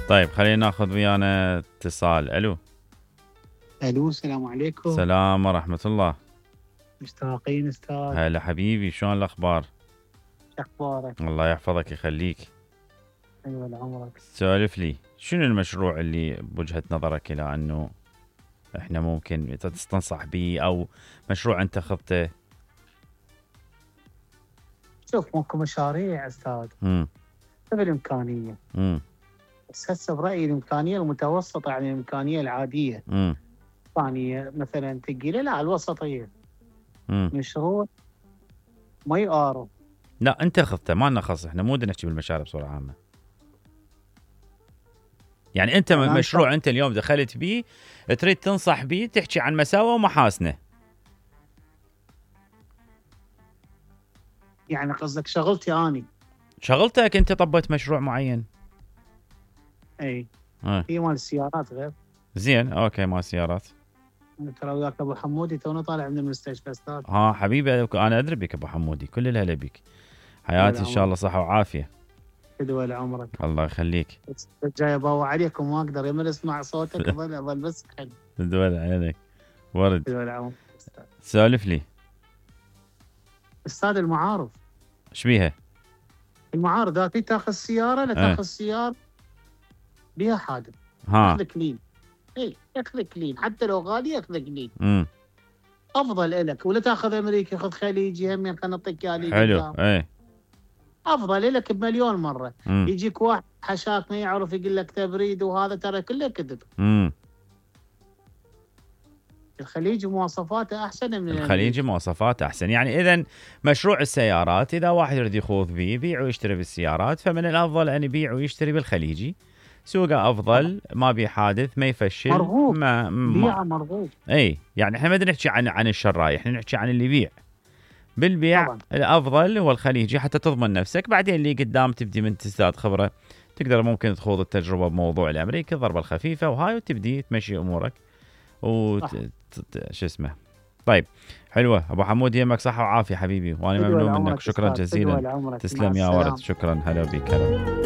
طيب خلينا ناخذ ويانا اتصال. الو السلام عليكم. السلام ورحمة الله. مشتاقين استاذ. هلا حبيبي، شلون الاخبار؟ اخبارك؟ الله يحفظك يخليك. ايوه لعمرك. سولف لي، شنو المشروع اللي بوجهة نظرك الى انه احنا ممكن تستنصح به، او مشروع انت خذته؟ شوف ماكو مشاريع استاذ بالامكانيه. بس هسه برايي الامكانيه المتوسطه، يعني الامكانيه العاديه. امكانيه مثلا ثقيله، لا الوسطيه. مشروع ما يقارب. لا انت خذته، ما لنا خص، احنا مو بدنا نحكي بالمشاريع بصوره عامه. يعني انت مشروع انت اليوم دخلت بيه تريد تنصح بيه، تحكي عن مساوئه ومحاسنه. يعني قصدك شغلتي اني؟ شغلتك انت طبيت مشروع معين. اي هي مال السيارات غير. زين اوكي، مال السيارات. ترى وياك ابو حمودي تونا طالع من المستشفى استاذ. حبيبي انا ادري بك ابو حمودي، كل الهلا بك. حياتي ان شاء الله صحه وعافيه. تدوى لعمرك. الله يخليك. جاي ابوع عليكم ما اقدر يمر اسمع صوتك اظل بس حد. تدوى عليك ورد. تدوى لعمرك. سولف لي استاذ. المعارض ايش بيها؟ المعارض هاتي تاخذ سياره، لا تاخذ سياره بيها حادث ياخذك لين. اي ياخذك لين حتى لو غالي ياخذك لين. افضل لك. ولا تاخذ امريكي، خذ خليجي همين خلينا نعطيك اياه. حلو افضل لك بمليون مره. يجيك واحد حشاك ما يعرف يقول لك تبريد، وهذا ترى كله كذب. الخليجي مواصفاته احسن من الخليجي مواصفاته احسن. يعني اذا مشروع السيارات اذا واحد يريد يخوض به يبيع ويشتري بالسيارات، فمن الافضل ان يبيع ويشتري بالخليجي. سوقه افضل، ما بيه حادث، ما يفشل، مرغوب. بيعه مرغوب. اي يعني احنا ما بدنا نحكي عن الشراي، احنا نحكي عن اللي يبيع. بالبيع طبعا الافضل هو الخليجي حتى تضمن نفسك، بعدين اللي قدام تبدي من تزداد خبره، تقدر ممكن تخوض التجربه بموضوع الامريكي الضربه الخفيفه وهاي، وتبدي تمشي امورك شو اسمه. طيب حلوه ابو حمود، يمك صحه وعافيه حبيبي، وانا ممنون منك، شكرا جزيلا. تسلم يا ورد، شكرا. هلا بك. هلا.